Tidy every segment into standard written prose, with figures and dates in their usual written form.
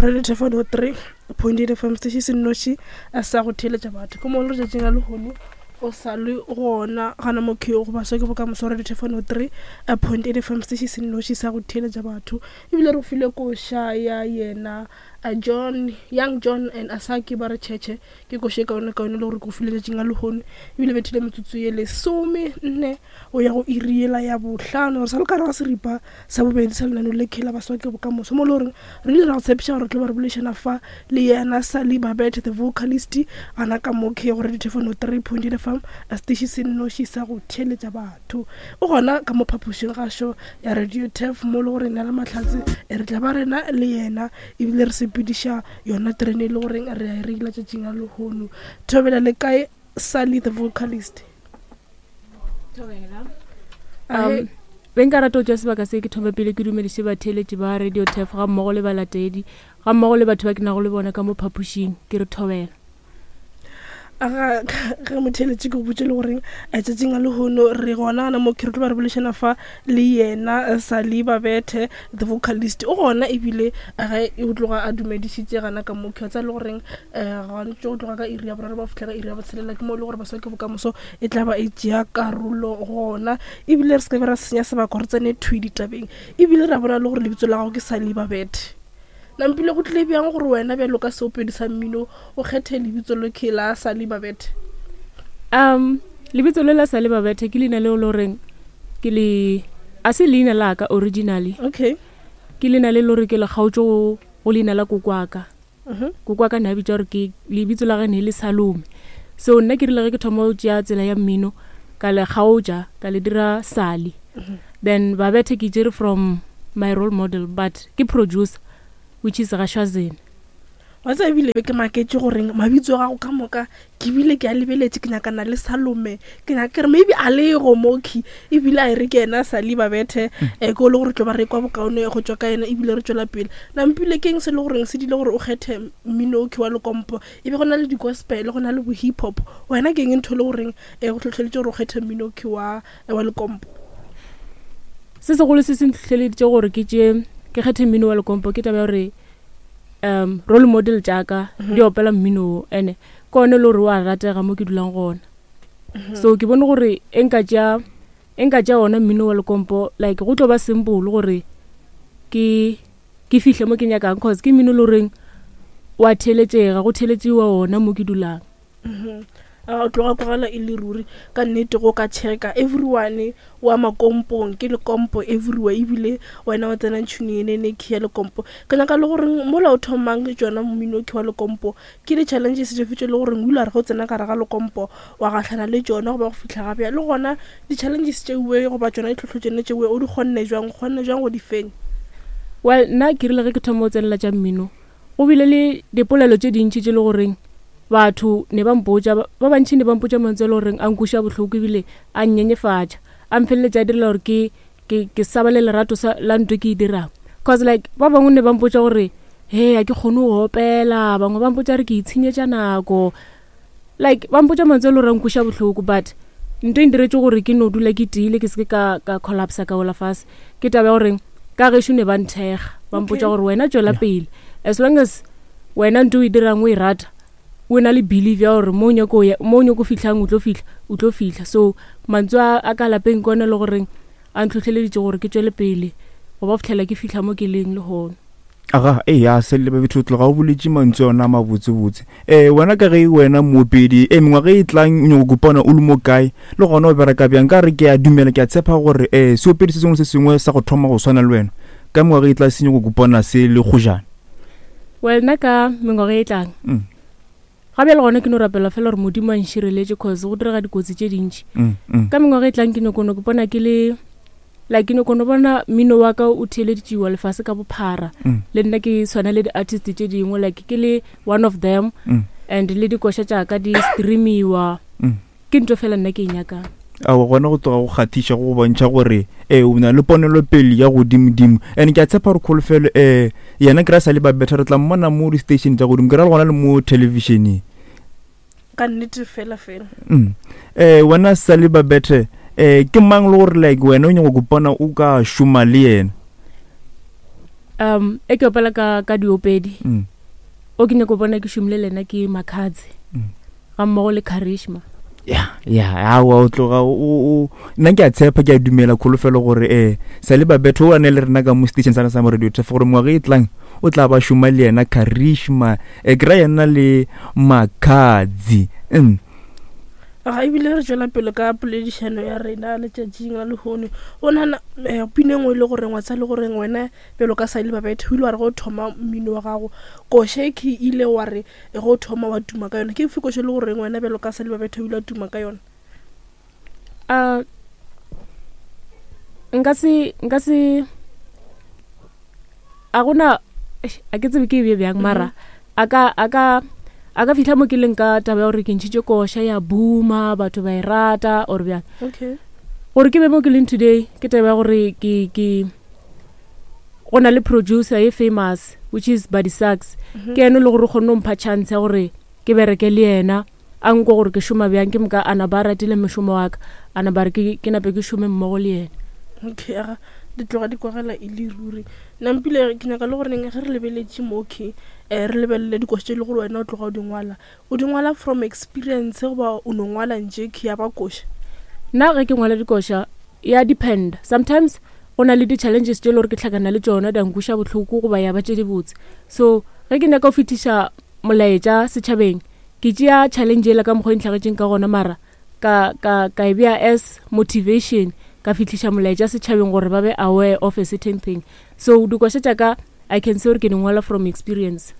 Radio Thefano 3.8 FM station se nnoši sa go theeletša batho ke mo le letšatšing la lehono o sa le gona gana mo ke go baswa ke bokamoso Radio Thefano 3.8 FM station se nnoši sa go theeletša batho ebile re file koša ya yena John Young John and Asaki ba re tšhetšhe ke koša e kaone kaone le gore ke go file letšatšing la lehono ebile bethile metsotso ye lesome nne go ya go iri yela ya bohlano. Re sa le ka gare ga seripa sa bobedi sa lenaneo le la Baswa ke Bokamoso, mo e le goreng re ile ra go tshepiša gore re tlo ba re boledišana fa le yena Sally Babethe the vocalist gana ka mo ke go Radio Thefano 3.8 FM, setiši se nnoši sa go theeletša batho. O gona ka mo phaphošing gašo ya Radio Tef mo e le gore nna le Mahlatse re tla ba rena le yena ebile re sepediša yona terene e le goreng re a e reila tšatšing la lehono. Thobela le kae Sally the vocalist? Um, be nka rata go tšea sebaka se ke thome pele ke dumediše batheeletši ba Radio Tef ga mmogo le balatedi ga mmogo le batho ba ke nago le bona ka mo phapošing ke re thobela. Aga ge motheeletši ke go botše le goreng tšatšing a lehono re gona gana mo ke re tlo ba re bolešana fa le yena Sally Babethe the vocalist o gona ebile ge o tloga a dumedišitše gana ka mo ke tsa le goreng um gantši go tloga ka iri ya boraro ba fihla ka iri ya botshelela ke mo e le gore baswa ke bokamoso e tla ba e tšea karolo gona ebile re se ka be ra senya sebaka gore tsene thwi ditabeng ebile ra bona le gore lebitso la gago ke Sally Babethe nampile go tlile bjang gore wena bjalo ka seopedi sa mmino o kgethe lebitso le ke la Sally Babethe? Lebitso le la Sally Babethe ke leina leo le goreng ke le a se leina la ka originally. Okay. Ke leina le le gore ke le kgaotše go leina la kokwaka. Koko wa ka ne a bitša gore ke lebitso la ge ne e le Salome. So nna ke rile ge ke thoma go tšea tsela ya mmino ka le kgaotša ka le dira Sally. Then Babethe ke tšere from my role model but ke producer which is Gashwazene. Wa tseba ebile be ke maketše goreng mabitso a gago ka moka Ke bile ke a lebeletše, ke nyakana le Salome, ke nyaka ke re maybe a lego moki, ebile a e re ke yena Sally Babethe, um ke o le gore tlo ba re kwa bokaone go tšwa ka yena ebile re tšwela pele. Nampile ke eng se le goreng se dile gore o kgethe mmino okhwi wa lekompo, e be go na le di-gospel, go na le bo-hip hop, wena ke eng ntho e le goreng e go hlohleleditše gore o kgethe mmino okhwi wa, wa lekompo? Se segolo se se ntlhohleleditše gore ke tšee ke kgethe mmino wa lekompo ke taba ya gore um role model tša ka di opela mmino wo ene ke one le gore wa ratega mo ke dulang gona. So ke bone gore e nka tšea e nka tšea ona mmino wa lekompo like go tlo ba simple gore ke ke fihle mo ke nyakang cause ke mmino le goreng wa theeletšega go theeletšiwa ona mo ke dulang. A tloga kwagala e le ruri ka nnete go ka checka everyone wa makompong ke lekompo everywhere ebile wena wa tsena tšhune yenene ke ya lekompo. Ke nyaka le gore mola o thomang tšona mmino ke wa lekompo ke di-challenges dife tše le goreng o ile wa re ge o tsena gare ga lekompo wa gahlana le tšona goba go fihla ga bjale, le gona di-challenges tšeoe goba tšona ditlhohlo tšone tšeoe o di kgonne jwang, o kgonne jwang go di fenya? Well nna ke rile ge ke thoma go tsenela tša mmino Go bile le dipolelo tše dintši tše le goreng batho ne ba mpotša, ba bantši ne ba mpotša mantswe a le goreng a nkweša bohloko ebile a nnyenyefatša, a mfeleletša a direla gore ke, ke, ke sa ba le lerato sa, la nto ke e dirang. Cause like ba bangwe ne ba mpotša gore he a ke kgone go opela, bangwe ba mpotša gore ke itshenyetša nako, like ba mpotša mantswe a le gore a nkweša bohloko, but nto e ntiretše gore ke no dula ke tiile ke seke ka, ka collapsa ka wela fase ke taba ya gore ka gešo ne ba nthekga ba mpotša gore wena tšwela pele as long as wena nto o e dirang o e rata o na le belief ya gore mo o nyako ya mo o nyako fihlang o tlo fihla o tlo fihla. So mantswe a a ka lapeng ke one e le goreng a ntlhohleleditše gore ke tšwele pele go ba fitlhela ke fihla mo ke leng lehono. Aga, eya, Sello Babethu, o tloga o boletše mantswe ona a mabotsebotse. Ee, wena ka ge wena moopedi, ee, mengwaga e tlang o nyako kopana o le mo kae, le gona o bereka bjang? Ka re ke a dumela, ke a tshepa gore ee, seopedi se sengwe le se sengwe sa go thoma go swana le wena, ka mengwaga e tla se nyako kopana se le kgojana. Well, nna ka mengwaga e tlang, mm. ga bjale gona ke no rapela fela gore Modimo a nšireletše cause go direga dikotsi tše dintši. Ka mengwaga e tlang ke nyako no kopana ke le like ke nyako no bona mmino wa ka o theeleditšiwa lefase ka bophara mm. le nna ke tshwana le di-artist tše dingwe like ke le one of them mm. and le dikoša tša ka di streamiwa mm. ke ntho fela nna ke e nyakang awa gona go tloga go kgathiša go bontšha gore ee o na le ponelopele ya godimodimo and ke a tshepa gore kholofelo um yena ke ra sa le ba better re tla mmona mo di-station tša godimo ke ra le gona le mo televisioneng Ka nnete fela fela. Mm. Eh wena Sally Babethe eh ke mang le gore like wena o nyaka go kopana o ka šoma le yena? E ke opela ka diopedi. O ke nyako bona ke šomile le ena ke Makhadzi. Ga mmogo le Charisma. Ya, ya, aowa, o tloga o nna ke a tshepa, ke a dumela kholofelo gore Sally Babetho o ane le rena ka mo station sa sa mo Radio Tef gore ngwaga e tlang o tla ba šoma le yena Charisma, ke ra yena le Makhadzi. Ga ebile re tšwela pele ka poledišano ya rena letšatšing la lehono. O nagana pina e nngwe e le goreng wa tsa le goreng wena bjalo ka Sally Babetho o ile wa re go thoma mmino wa gago koše ke ile wa re e go thoma wa tuma ka yona, ke efe koše le goreng wena bjalo ka Sally Babetho o ile wa tuma ka yona? Nka se, nka se, a gona, eish, a ke tsebe ke e bje bjang, mara a ka, a ka, a ka fihla mo ke leng ka taba ya gore ke ntšhitše koša ya booma, batho ba e rata or bjang. Gore ke be mo ke leng today ke taba ya gore ke, ke go na le producer ye famous which is Buddy Sachs. Ke ene le gore o kgonne go mpha chance ya gore ke bereke le yena, a nkwe gore ke šoma bjang, ke moka a na ba ratile mošomo wa ka, a na ba re ke nape ke šome mmogo le yena. Okay, aga di tloga di kwagala e le ruri. Nampile ke nyaka le gore neng ge re lebeletše mo, okay, re lebelele dikoša tše e le gore wena o tloga o di ngwala, o di ngwala from experience goba o no ngwala nje ke ya ba koša? Nna ge ke ngwala dikoša ya depend, sometimes go na le di-challenges tše e le gore ke hlakana le tšona di a nkweša bohloko goba ya ba tše dibotse. So ge ke nyaka go fetiša molaetša setšhabeng, ke tšea challenge ela ka mokgwa e ntlhagetšeng ka gona, mara ka e bea as motivation, ka fihliša molaetša setšhabeng gore ba be aware of a certain thing. So dikoša tša ka I can say gore ke di ngwala from experience.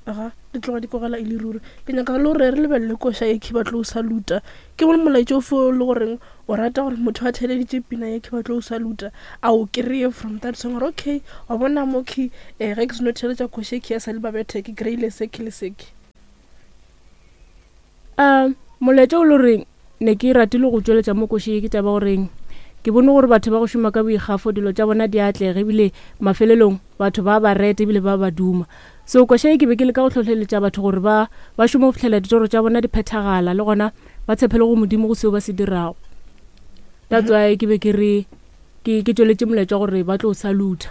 Aga, di tloga di kwagala e le ruri. Ke nyaka le gore re lebelele koša ye ke batlo o saluta. Ke bone molaetša o fo le goreng o rata gore motho a theleditše pina ye ke batlo o saluta, a o kry-e from that song gore okay, wa bona mo ke ge ke seno theletša koša ye ke ya Sally Babethe ke kry-ile se ke le se ke. Molaetša o le goreng ne ke ratile go tšweletša mo košeng ye ke taba goreng ke bone gore batho ba go šoma ka boikgafo dilo tša bona di atlega ebile mafelelong batho ba ba reta ebile ba ba duma. So koša ye ke be ke leka go hlohleletša batho gore ba šome go fihlela ditoro tša bona di phethagala, le gona ba tshepele go Modimo go seo ba se dirago. That's why ke be ke re ke tšweletše molaetša gore ba tlo salutha.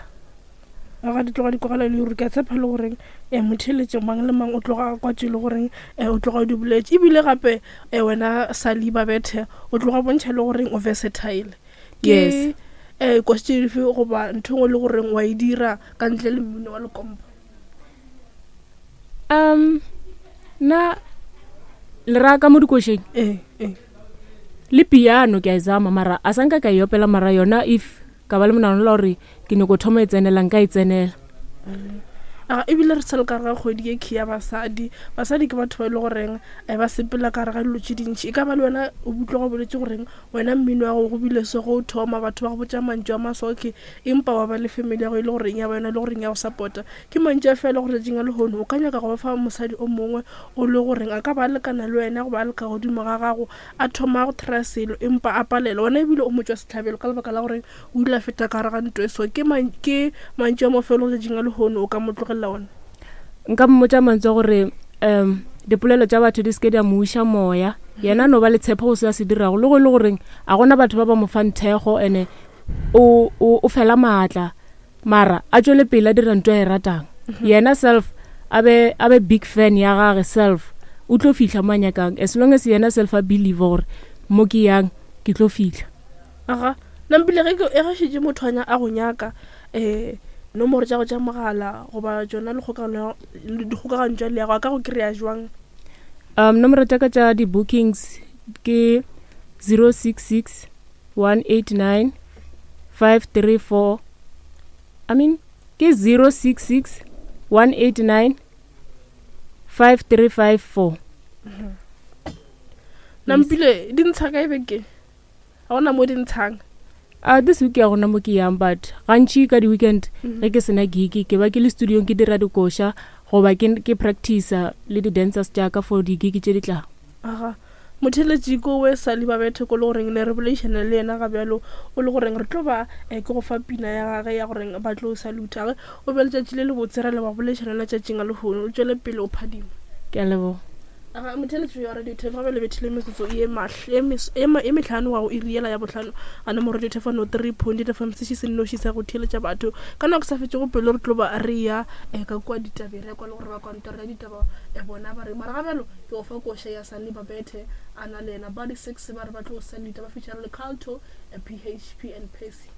Ga di tloga di kwagala le gore ke a tshepa le goreng motheeletše mang le mang o tloga kwa tše le goreng o tloga o di boletše, ebile gape wena Sally Babethe o tloga bontšha le goreng o versatile. Ke koši tše dife goba ntho engwe le goreng wa e dira ka ntle le mmino wa lekompo? Nna le raya ka mo dikošeng? Ee, ee. Le piano ke a e zama, mara a sa nka ka e opela, mara yona if ka ba le monagano la gore ke nyako thoma e tsenela, nka e tsenela. Ebile re sa le ka gare ga kgwedi ye key ya basadi. Basadi ke batho ba e le goreng ba sepela ka gare ga dilo tše dintši. E ka ba le wena o utlwa go boletse goreng wena mmino wa gago go bile so ge o thoma batho ba go botša mantšu a masoke, empa wa ba le family ya go e le goreng ya ba yona e le goreng ya go support-a. Ke mantšu a fela gore tšatšing la lehono o ka nyaka go ba fa mosadi o mongwe o le goreng a ka ba a lekana le wena goba a le ka godimo ga gago, a thoma go try selo empa a palelwa, wena ebile o mo tšwa sehlabelo ka lebaka la gore o ile a feta ka gare ga ntwa e so. Ke ke mantšu a mafelo letšatšing la lehono o ka mo tlogelela ona? Nka mmotša mantšu a gore dipolelo tša batho di seke di a mo iša moya, yena no ba le tshepo go se a se dirago, le go e le goreng a gona batho ba ba mo fang thekgo ene o fela maatla, mara a tšwele pele a dira ntwa e ratang. Yena self a be big fan ya gage self, o tlo fihla mo a nyakang, as long as yena self a believe gore mo ke yang ke tlo fihla. Aga, nampile ge ke e ge šetše motho a go nyaka nomoro tša go tša mogala goba tšona dikgokagano dikgokagano tša leago a ka go kry-a jwang? Nomoro tša ka tša di-bookings ke 066 189 534, I mean ke 066 189 5354. Nampile di ntsha kae bekeng? Ga gona mo di ntshang? This week ya gona mo ke yang, but gantši ka di-weekend ge ke sena gig ke ba ke le studiong ke dira dikoša goba ke practice-a le di-dancers tša ka for di-gig tše di tlang. Aga, motheeletši ko we Sally Babethe ko le goreng ne re boledišana le yena ga bjalo, o le goreng re tlo ba ke go fa pina ya gage ya goreng ba tlo salute. Age o be letšatši le lebotse, ra leboga boledišana le letšatšing a lehono, o tšwele pele o phadima. Ke a leboga. Aga motheletšo ya Radio Thefo gabe le bethile metsotso ye ye mehlano wa go iri yela ya bohlano gana mo Radio Thefo no 3.8 FM seši se nnoši sa go theeletša batho ka nako sa fetšego pelo re tlo ba re ya eh, ka kua ditabeng re ya kwa le gore ba kantoro ya ditaba eh, bona ba re mara ga bjalo ke go fa koša ya Sunny Babethe a na le yena Body 6 ba re ba tlo salita ba feature le Calto eh, PHP and Percy.